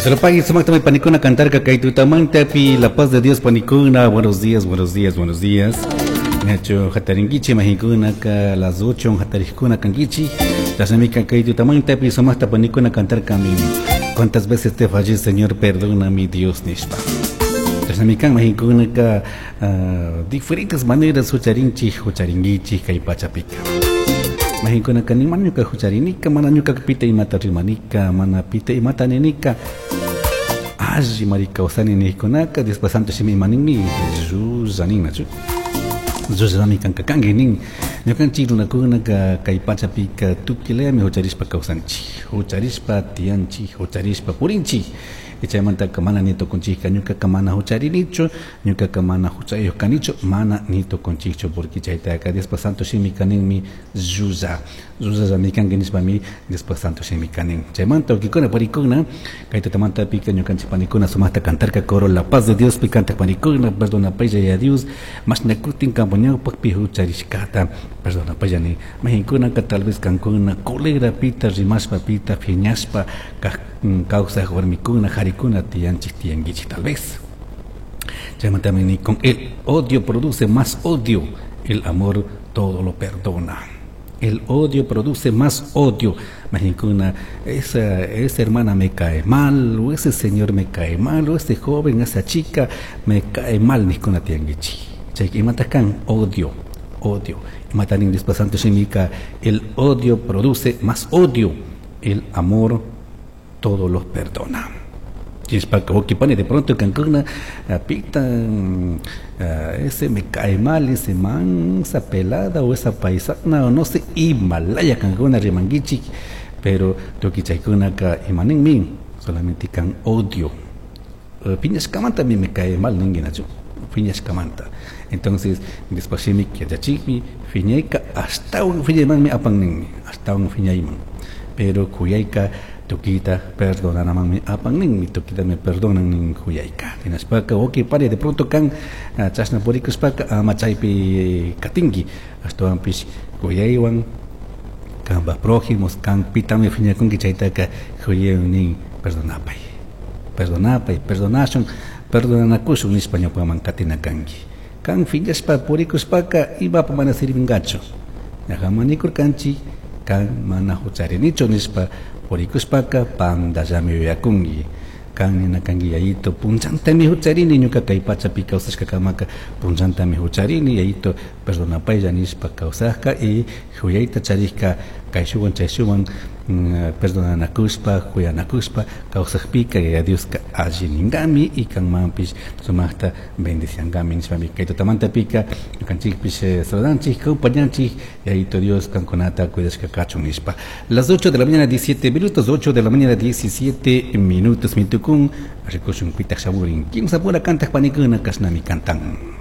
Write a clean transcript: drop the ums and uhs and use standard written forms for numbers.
Sarapai, sumaqtami panikuna cantarka kay tutamantapi la paz de Dios panikuna. Buenos días, buenos días, buenos días. Nacho hatarinkichi mahikunaka las 8 hatarikuna kankichi. Chashnamika kay tutamantapi sumaqta panikuna cantarkami. ¿Cuántas veces te fallé, Señor? Perdona mi Dios nishpa. Chashnamikan mahikunaka diferentes maneras hucharinchik, hucharinkichik kay pachapika. Mahikunaka ni mana ñuka hucharinika, mana ñuka pita imata rimanika, mana pita imata ninika. Alli mari kawsani nijkunaka, Diospa santo shimi ima ninmi, llulla nachu. Llullami kanka kanki nin. Ñukanchik runakunaka kay pachapika tukuy hucharishpa kawsanchik, hucharishpa tiyanchik, hucharishpa purinchik. Chaymantaka mana ni tukunchikka ñukaka mana hucharinichu, ñukaka mana huchayuq kanichu, mana ni tukunchikchu porque chaytaka Diospa santo shimika ninmi llulla. Llullallami kanki nishpami Diospa santo shimika nin. Chaymanta wawkikuna parikuna kay tutamantapika ñukanchik panikuna sumaqta cantarka coro La Paz de Diospi cantak panikuna perdonapaylla ya Dios mashna kutin kampa ñawpakpi hucharishkata perdonapaylla ni mahinkunaka tal vez kankuna culebra pita rimashpa pita phiñashpa kawsaq warmikuna harikuna tiyanchik tiyankichik tal vez. Chaymantami ni con el odio produce más odio, el amor todo lo perdona. El odio produce más odio. Mahinkuna, esa hermana me cae mal, o ese señor me cae mal, o ese joven, esa chica me cae mal, nijkuna tiyankichik. Chay imata kan odio, odio. Imata nin Diospa santo shimika, el odio produce más odio, el amor todo lo perdona. Chispaca, pani de pronto kankuna, pita, ese me cae mal, ese man, esa pelada o esa paisana, o no sé, Himalaya kankuna rimanguichik, pero tuki chaykunaka imanin solamente kan odio. Piñashkamanta mi me cae mal ninguinachu, piñashkamanta. Entonces, después shimi yachachikmi, fiñayka hasta un fiñaymanmi apan ninmi, hasta un fiñayman. Pero kuyayka tukita perdonanamanmi apan ninmi, tukita me perdonan nin kuyayka. Hinashpaka wawki pani de pronto kan chashna purikushpaka ama chaypi katinki, ashtawanpish kuyaywan kanpa prójimos kan pitami phiñakunki chaytaka kuyaywan nin perdonapay, perdonapay, perdonashun, perdonanakushun nishpa ñawpaman katina kanki. Kan phiñashpa purikushpaka imapa mana sirvingachu. Ñajaman nikurkanchik kan mana hucharinichu nishpa purikushpaka pandallami yuyakunki. Kan nina kanki yayito punchantami hucharini ñuka kay pachapi kawsashkakamaka punchantami hucharini yayito perdonapaylla nishpa kawsajka y huyayta charishka kayshuwan chayshuwan perdonanakushpa huyanakushpa kawsajpika Yaya Dioska alli ninkami y kanmanpish sumaqta bendiciankami nishpami kay tutamantapika ñukanchikpish saludanchik kumpañanchik Yayito Dios kankunata cuidashka kachun nishpa. Las 8 de la mañana 17 minutos, 8 de la mañana 17 minutos mitukun rikushun pitaq shamurin kimsa pura kantaq panikuna kashnami cantan.